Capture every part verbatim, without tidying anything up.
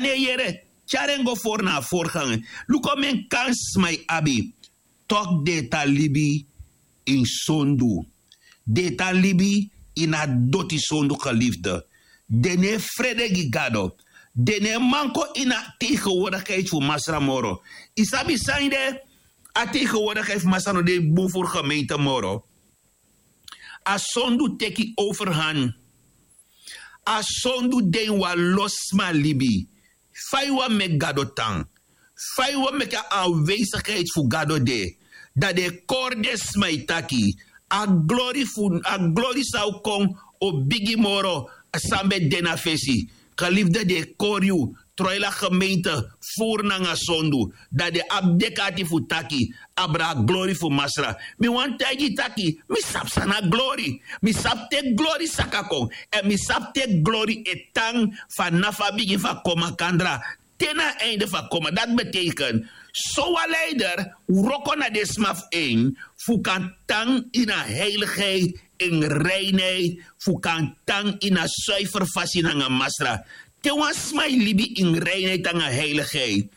e yere, tyari en go fori na a forganga. Luku omen kansi sma e abi. Toki den e tan libi ini sondu. Den e tan libi ini a doti sondu, gelifde. Den no e frede gi gado. Den no e man kon ini a tegenwoordigheid fu masra moro. Yu sabi san yu de? A tegenwoordigheid fu masra no de bun furu gemeente moro. A sondu teki overhan. A sondu de ini wan losi sma libi. Fa yu wani meki gado tan? Fa yu wani meki a anwesigheid fu gado de? Dan den e kori den sma e taki, a glori fu a glori san o kon o bigi moro san ben de na fesi. Gelifde, den e kori yu, troila gemeente, furu nanga sondu. Dan den abi deki ati fu taki, abra a glori fu masra. Mi wani taigi yu taki, mi sabi san na glori. Mi sabi te glori saka kon. Èn mi sabi te glori e tan fanafu a bigin fu a kon makandra te na a einde fu a kon. Ma dati betekent, sowan leider wroko na den sma fu en, fu kan tan ini a heiligheid, in reinheid, fu kan tan ini a suifer fasi nanga masra. Te wan sma e libi in reinheid nanga heiligheid,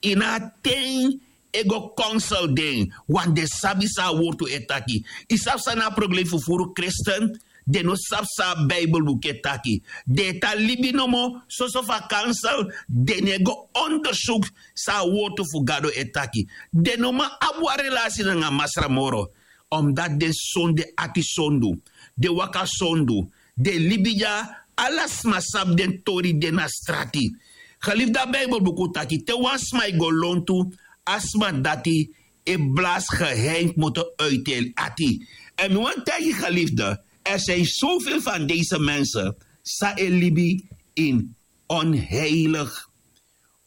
ini a ten e go konsel den, want den sabi san a wortu e taki. Yu sabi san na a problem fu furu kristen? Den no sabi san a Bijbelboek e taki. Den e tan libi nomo, soso fu a kansel, den no e go ondersuku san a wortu fu Gado e taki. Den no man abi wan relasi nanga Masra moro. Omdati den sondu, den ati sondu, den waka sondu, den libi dya, ala sma sabi den tori de na strati. Geliefde, a Bijbelboek taki te wan sma e go lontu, a sma dati e blasi geheim kmoto uit en ati. En mi wani taigi geliefde, er zijn zoveel van deze mensen san e libi in onheilig.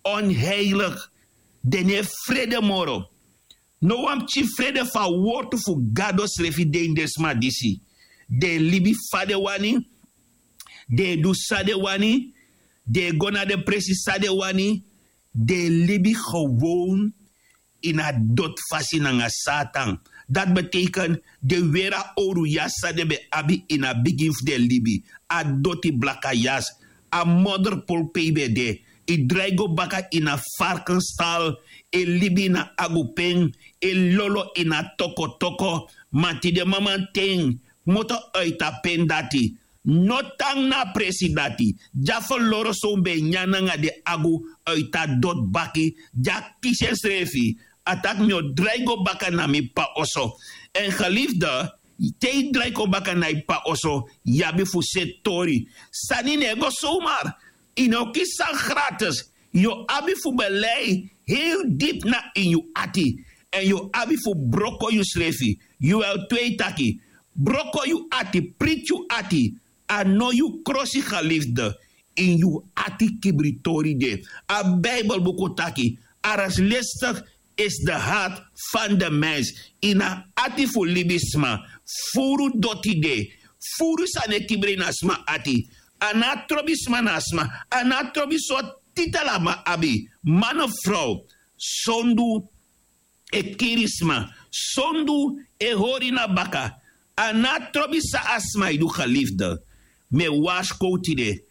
Onheilig. Den no e frede moro. No wan pikin frede fu a wortu fu Gado srefi de ini den sma disi. Den e libi fa den wani, den e du san den wani, den e go na den presi san den wani, den e libi gewoon ini a doti fasi nanga Satan. Dati betekent den weri a owru yasi san den ben abi ini a bigin fu den libi, a doti blaka yasi, a modderpoel pe yu ben de. Yu drai go baka ini a varkenstal, e libi ini a agu pen, e lolo ini a tokotoko. Ma tide mamanten, kmoto uit a pen dati, no tan na a presi dati. Di a ferloro son ben e nyan nanga den agu uit a doti baki, di a kisi ensrefi, a taki mi o drai go baka na mi p'pa oso. En geliefde, te yu drai kon baka na yu p'pa oso, yu abi fu seti tori. Sani no e go zomaar. Yu no kisi sani gratis. Yu o abi fu belei heel dipi na ini yu ati. En yu o abi fu broko yusrefi. Yu wel twei taki. Broko yu ati, priti yu ati. A no yu krosi geliefde. Ini yu ati kibritori de. A Bijbelboek taki, arglistig is de hart van de mens. Ini a ati fu libisma furu doti de. Furu sani e kibri ini a sma ati. A no abi trobi sma na a sma. A no abi trobi sortu titel a man abi. Man of vrouw. Sondu e kiri sma. Sondu e hori na baka. A no abi trobi san a sma e du, geliefde. Mi e warskow tide.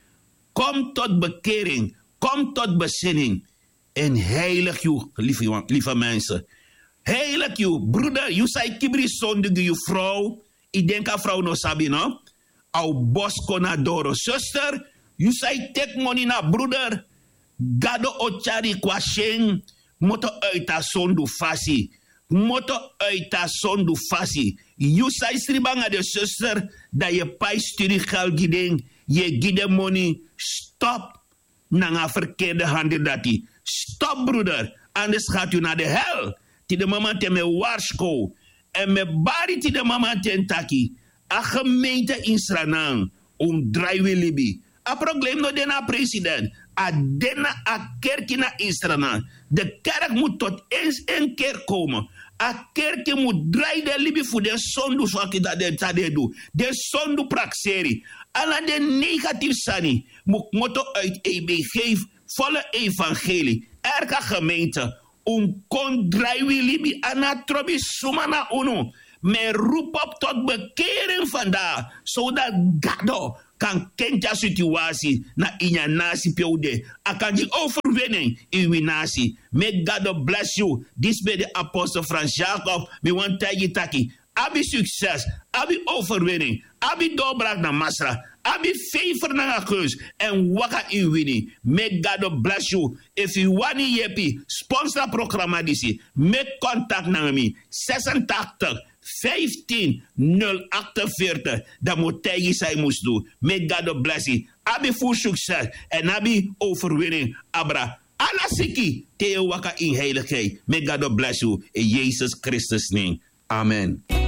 Kom tot bekering. Kom tot bezinning. En heilig yu, lieve, lieve mensen. Heilig yu, broeder, yu san e kibri sondu gi yu vrouw. Yu denki a vrouw no sabi, no? A o bosi kon na doro. Zuster, yu san e teki moni na broeder, Gado o tyari yu kon na syen. Kmoto uit a sondu fasi. Kmoto uit a sondu fasi. Yu san e sribi nanga den zuster, dan yu e pai studie geld gi den, yu e gi den moni. Stop nanga a verkeerde handel dati. Stop, broeder, anders gaat u naar de hel. Tide mamanten mi e warskow. En mi e bari tide mamanten taki, a gemeente ini Sranan, un mus drai wi libi. A problem no de na a president. A de na a kerki na ini Sranan. De kerk moet tot eens in kerk komen. A kerki moet drai den libi fu den sondu saki san den e du. Den sondu prakseri. Ala den negatief sani moet kmoto uit E B G, volle evangelie. Elke gemeente, un mus kon drai wi libi. A no abi trobi suma na unu. Mi e roep op tot bekering vandaag, zodat Gado kan kenki a situasi na ini a nasi pe un de. A kan gi overwinning ini wi nasi. Make God bless you. Disi ben de apostel Frans Jacob. Mi wani taigi taki, abi sukses, abi overwinning, abi doorbraak na Masra, abi favor nanga keus, èn waka ini wini. Make God bless you. Efu yu wani yepi sponsor a programa disi, make contact nanga mi, zesentachtig vijftien nul achtenveertig. Dan mi o taigi san yu mus du. Make God bless you. Abi full succes èn abi overwinning abra ala siki te yu e waka in heiligheid. Make God bless you in Jesus Christus name. Amen.